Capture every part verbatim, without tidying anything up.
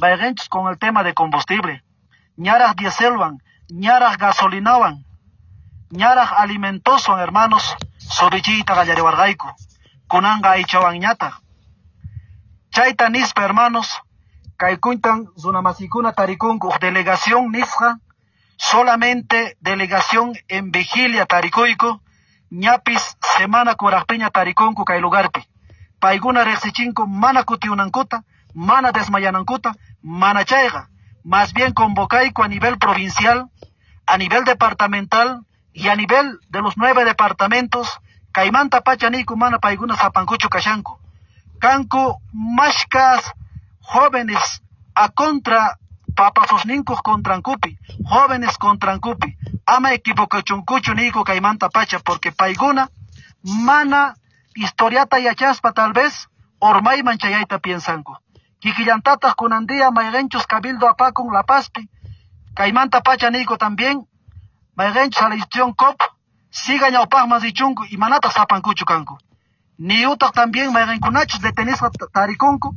Mayqinchus con el tema de combustible, ñaraq dieselwan, ñaraq gasolinawan, ñaraq alimentoswan, hermanos, subichiyta qallariwarqayku, kunanqa aychawanñataq. Chayta nispa, hermanos, kaykuntan runamasikuna tarikunku uq delegación nisqa, solamente delegación en vigilia tarikuyku, ñapis semana kuraqpiña tarikunku kay lugarpi. Paykuna riqsichinku mana kutiunankuta, mana desmayanankuta, mana chayqa, más bien convocayku a nivel provincial, a nivel departamental y a nivel de los nueve departamentos, kaymanta pacha niyku mana paykuna sapankuchu kashanku. Kanku mashkas jóvenes a contra papasusninkuq contrankupi, jóvenes contrankupi, ama equivocachunkuchu niyku kaymanta pacha, porque paykuna mana historiata yachaspa tal vez ormayman chayayta piensanku. Kikillantataq kunan día mayqinchus cabildo apakun La Pazpi, kaymanta pacha niyku también, mayqinchus a la institución C O P, siga ñawpaqman richunku y manataq sapankuchu kanku. Niyutaq también mayqinkunachus detenisqa tarikunku,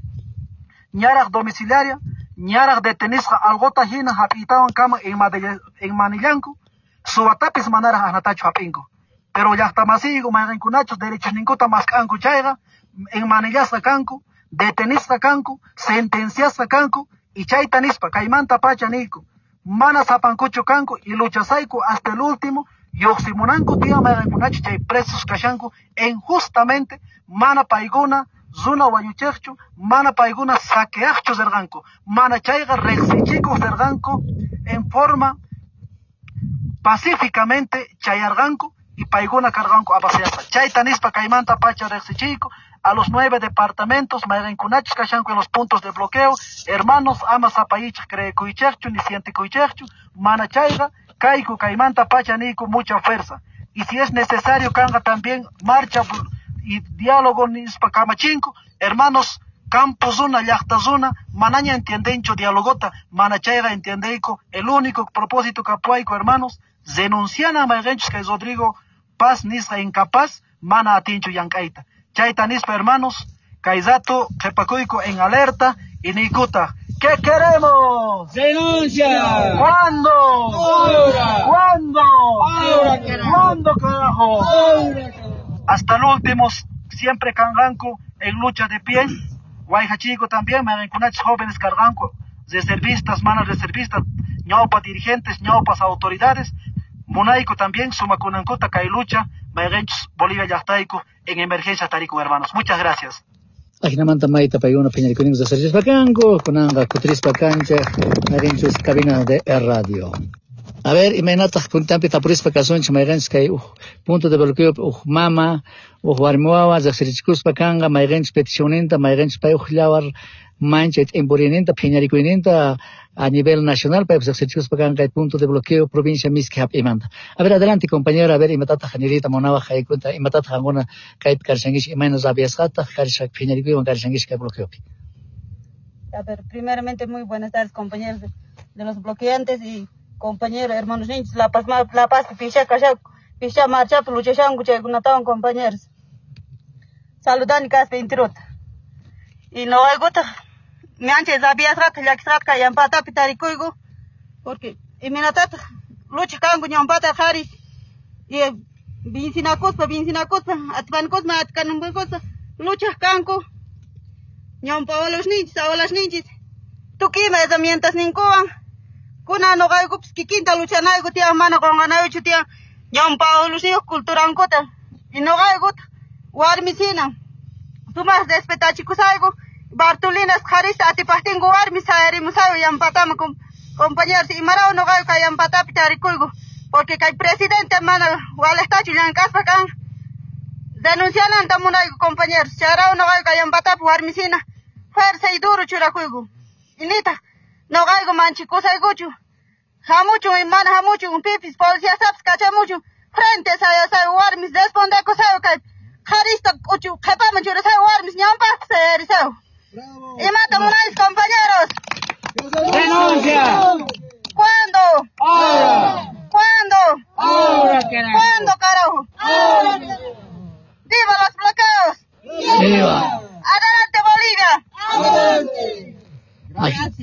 ñaraq domiciliaria, ñaraq detenisqa algota hina hap'itawan kama en manillanku, suwatapis manaraq anatachu hap'inku. Pero llaqtamasiyku mayqinkunachus derechosninkuta mask'anku chayqa, en manillasqa kanku, detenisqa kanku, sentenciasqa kanku, y chayta nispa kaymanta pacha niyku, mana sapankuchu kanku y luchasayku hasta el último, lluqsimunanku tiyan mayqinkunachu chay presos kashanku, injustamente mana paykuna runa wañuchiqchu, mana paykuna saqueaqchu rirqanku, mana chayqa riqsichikuq rirqanku en forma pacíficamente chayarqanku y paykuna karqanku abaseasqa. Chayta nispa kaymanta pacha riqsichiyku a los nueve departamentos mayqinkunachus kashanku en los puntos de bloqueo, hermanos, ama sapayichaq creekuychaqchu ni sientikuychaqchu, mana chayqa kayku kaymanta pacha niyku mucha fuerza. Y si es necesario kanqa también marcha y diálogo nispa kamachinku, hermanos, campo zona, llaqta zona, manaña entiendencho dialogota, mana chayqa entiendeyku, el único propósito kapuayku, hermanos, denunciana mayqinchus kay Rodrigo Paz nisqa incapaz, mana atinchu llank'ayta. Chayta nispa, hermanos, kay rato qhipakuyku en alerta y niykuta, ¿qué queremos? ¡Denuncia! ¿Cuándo? ¡Ahora! ¿Cuándo? ¡Ahora, carajo! ¿Cuándo, carajo? ¡Ahora, carajo! Hasta el último, siempre kanqanku en lucha de pie. Guayjachico también, mayqinkunachus jóvenes karqanku, reservistas, manas reservistas, ñawpa dirigentes, ñawpas autoridades, munayku también sumakunankuta kay lucha, mayqinchus Bolivia llaqtayku en emergencia tariku, hermanos. Muchas gracias. Ajinamanta mayta paykuna phiñarikuyninkus asarichispa kanku, kunanqa kutirispa kanchaq mayqinchus cabina de radio. A ver, imaynataq kuntampi tapurispa kasunchik mayqinchus kay uj punto de bloqueo uj mama, uj warmi wawa riqsirichikuspa kanqa mayqinchus peticionninta, mayqinchus pay uj llawar mancha t'impurinninta phiñarikuyninta a nivel nacional paypas riqsirichikuspa kanqa kay punto de bloqueo provincia Miski hap'imanta. A ver, adelante compañero, a ver imatataq niriyta munawaq kaykunta, imatataq qankuna kaypi karshankichik, imayna rabiasqataq karsha phiñarikuywan karshankichik kay bloqueopi. A ver, primeramente muy buenas tardes compañeros de, de los bloqueantes y compañeros, hermanos niños, La Paz, La Paz, Pisha, Kasha, Pisha, Marcha, Luchashangu, Chaykunatawan, compañeros. Saludani kaspa intiruta. Y no hay gota, me anche rabiasqata, llakisqata kayampatapi tarikuyku, porque imaynatata lucha kanku ñawpata qharis, y vincinakuspa, vincinakuspa, atipanakuspa, atikanankuspa, luchaq kanku, ñawpa abuelos ninchis, abuelas ninchis, tukuy ima herramientas ninkuwan. Kuna noqaykupis kikinta luchanayku tiyan, mana qunqanaykuchu tiyan ñawpa abuelosniyuq culturankuta. Y noqaykuta warmisina sumaq respetachikusayku, Bartolinas qharista atipaqtinku warmi sayarimusayku yampatama compañeros, imaraw noqayku kay yampatapi tarikuyku, porque kay presidente mana waliqtachu llank'aspa kan denunciananta munayku compañeros, chayraw noqayku kay yampatapi warmisina fuerza y duro churakuyku. Y nitaq noqayku manchikusaykuchu, hamuchun y mana hamuchun, pipis policiasapis kachamuchun, frente sayasayku warmis respondekusayku kay qharista k'uchu qhipaman churasayku warmis ñawpaqpi sayarisayku. Imata munaychis compañeros.